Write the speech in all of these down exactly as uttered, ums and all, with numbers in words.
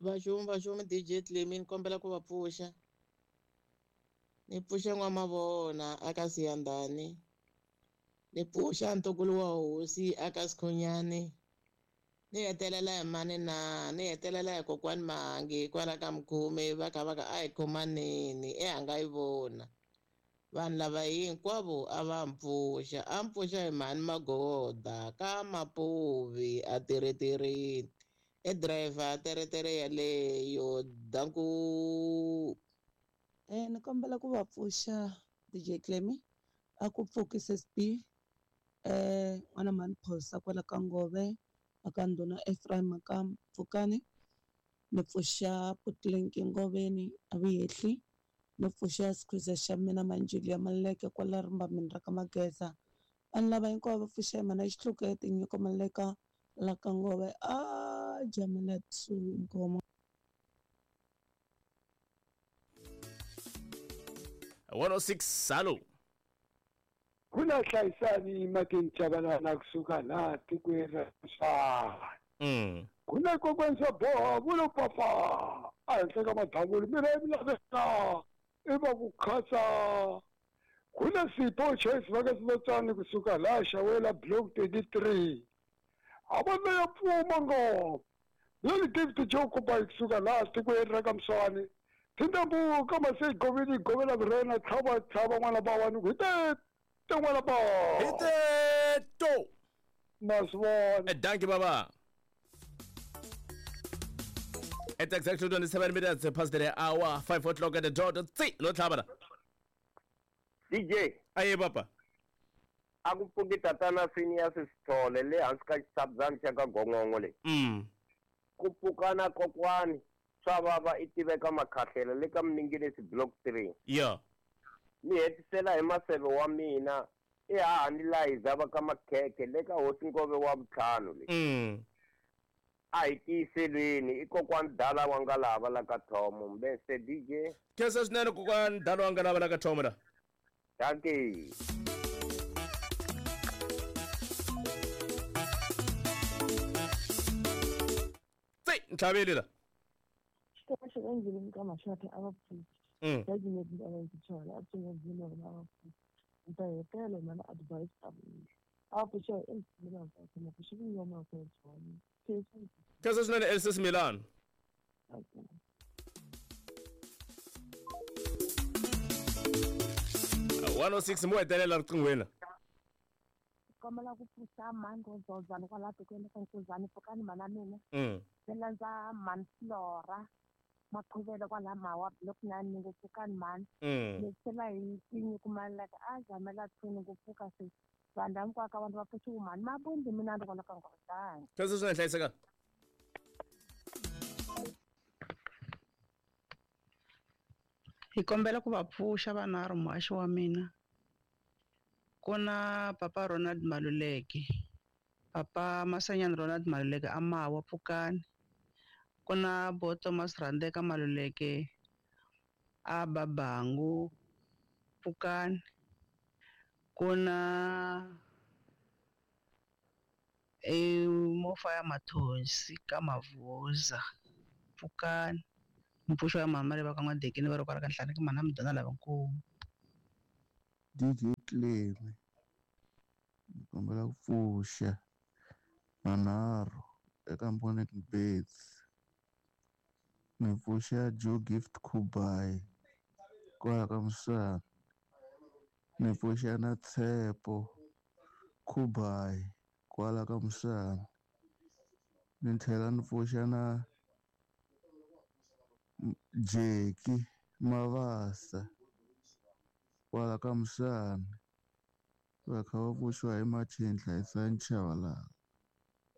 Vaxumi vaxumi D J Clemi ni kombela ku va pfuxa. Ni pfuxa n'wamavona aka Siyandhani. Ni pfuxa ntukulu wa hosi aka Sikhunyani. Ni hetelela hi mani na ni hetelela hi kokwani Mahangi kwala ka Mkhume va kha va ka a hi khomaneni e a nga yi vona. Vanhu lava hinkwavo a va mpfuxa a mpfuxa hi mhani Magoda ka Mapuvi a tirhetirini e driver teretere yaleyo danku. Eh ni kombela ku va pfuxa D J Clemi a ku pfuki S B eh n'wana mhani Phosa kwala ka Ngove aka ndhuna Ephraim ka Pfukani ni pfuxa Putlenki Ngoveni a Vuyehli ni pfuxa Sikhuza xa mina Manjili ya Maleke kwala rimbamini ra ka Mageza vanhu lava hinkwavo va pfuxa hi mhana Xihluke Tinyiko Maleka la ka Ngove a Jamela two Nkomo. one oh six salo. Kuna hlayisani makini Chabalala kusuka la tikweni ra Mswana. Mm. Kuna kokwani swa boha vulo papa a henhla ka madavulu mina yi laveka i va ku khasa. Kuna Sipho Choice va ka Sinotsani kusuka la Xawela block twenty-three. A va ya pfuma ngopfu. Leli David Joe Kuba kusuka la tikweni ra ka Mswana. Tindambu ka mase goveni govela vurena tlhava tlhava n'wana ba wani ku te te n'wana ba. Hite to. Maswona. Dankie baba. At exactly twenty-seven minutes past the hour, five o'clock at the dot. Tsi no tlhava. D J. Aye papa. A ku pfuki tatana Phineas Sithole le hansi ka xitshabzana xa ka Gongongo le. Mm. Ku pfukana kokwani swa vava i tiveka makhahlela le ka Mninginisi block three. Yeah. Ni hetisela hi maseve wa mina i hahani Liza va ka Makhekhe le ka hosi Ngove wa vutlhanu le. Mm. A hi tiyiselweni i kokwani Dala wa nga lava la ka Thomo mbese D J. Khensa swinene kokwani Dala wa nga lava la ka Thomo la. Dankie. Tsi ntlhaveli la. Xikoxo endleleni ka maxaka a va pfuki. Mm. Judgment a va yi tshola a pfunga dzina va va pfuki. Nta hetela mana advice ta mina. A pfuxa endleleni ka kuma ku xi ngoma ku tshola. Khensa swinene Elsa Milan. Okay. one oh six mo hetelela riqinghweni. Kombela ku pfuxa mhani Rozozana kwala tikweni ka Nkuzani pfukani mhana mina. Mm. Ni landza mhani Flora Maqhuvela kwala Mawa block nine ni ku pfukani mhani. Mm. Ni tlhela hi Tinyiko Maleka a Jamela two ni ku pfuka se vanhu lava hinkwako vanhu va pfuxiwe mhani Mabundi mina ni kwala ka Ngozana. Khensa swinene hlayiseka. Hi kombela ku va pfuxa vanharhu muhaxi wa mina. Ku na papa Ronald Maluleke, papa Masanyani Ronald Maluleke a Mawa pfukani. Ku na bo Thomas Randeka Maluleke a Babangu pfukani. Ku na e Mofaya Mathonsi ka Mavuza pfukani. Mpfuxo ya mama le va ka N'wadekeni va ri kwala ka Nhlane ka mhana Mudona lavankulu. D J Clemi ni kombela ku pfuxa manharhu eka Mponeng Bets. Ni pfuxa Joe Gift Kubai kwala ka Mswana. Ni pfuxa na Tshepo Kubai kwala ka Mswana. Ni tlhela ni pfuxa na Jeki Mavasa kwala ka Mswana. Va kha va pfuxiwa hi Martin Hlayisani Chabalala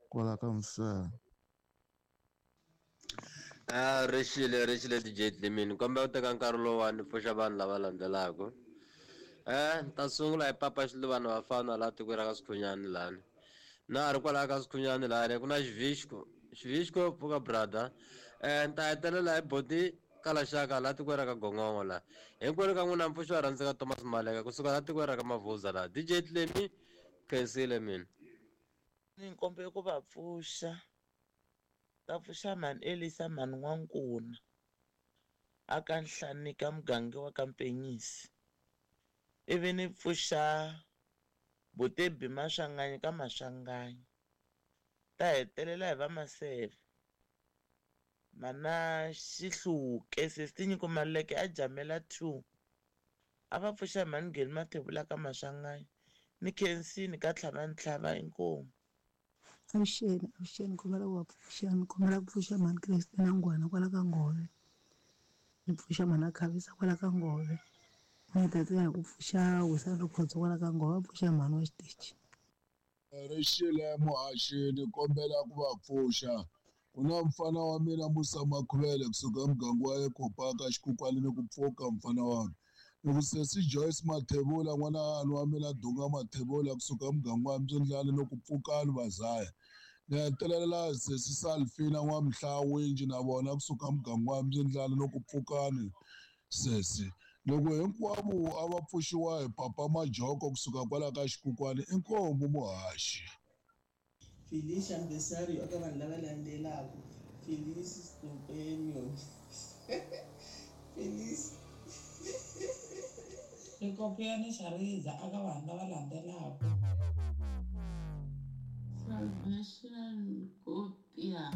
kwala ka Mswana. Ah, rixile rixile D J Clemini kombela ku teka nkarhi lowuwani pfuxa vanhu lava landzelaka. Eh, ta sungula hi papa Xiluvana vafana laha tikweni ra ka Sikhunyani lani. Na ri kwalaha ka Sikhunyani lani ku na Xivixko. Xivixko pfuka brother. Eh, ni ta hetelela hi boti Kalaxaka laha tikweni ra ka Gongongo laha. Hinkwenu ka n'wina mpfuxo wa rhandzeka Thomas Maleka kusuka laha tikweni ra ka Mavuza laha. D J Clemi khensile mina. Ni kombela ku va pfuxa. Ta pfuxa mhani Elisa mhani N'wankuna aka Nhlanika muganga wa ka Mpenyisi. Ivi ni pfuxa Botebi Maswanganyi ka Maswanganyi. Ta hetelela hi va Maseve. Mana Xihluke sesi Nyiko Maluleke a Jamela two. A va pfuxa mhani Ngheni Mathebula ka Maswanganyi ni Khensini ka Tlhavantlhava inkomu. Avuxeni, avuxeni kombela ku va pfuxa ni kombela ku pfuxa mhani Christina Ngwana kwala ka Ngove. Ni pfuxa mhani Khavisa kwala ka Ngove. Ni hetelela hi ku pfuxa Wisani Rikhotso kwala ka Ngove, va pfuxa mhani wa xitichi. Rixile muhaxi ni kombela ku va pfuxa. Ku na mfana wa mina Musa Makhuvele kusuka emuganga wa Ekopaka xikukwani ni ku pfuka mfana wami. Ni ku sesi Joyce Mathebula n'wana wa mina Dunga Mathebula kusuka emuganga wa Mbyindlani ni ku pfukani vazaya. Ni hetelela sesi Salfina N'wamhlawinji na vona kusuka emuganga wa Mbyindlani ni ku pfukani sesi. Loko hinkwavo a va pfuxiwa hi Papa Majoko kusuka kwala ka xikukwani inkomu muhaxi. Felicia Mbesario eka vanhu lava landzelaka Felice Stupenio Felice Rikopiyani Xariza eka vanhu lava landzelaka Salvation Kopia.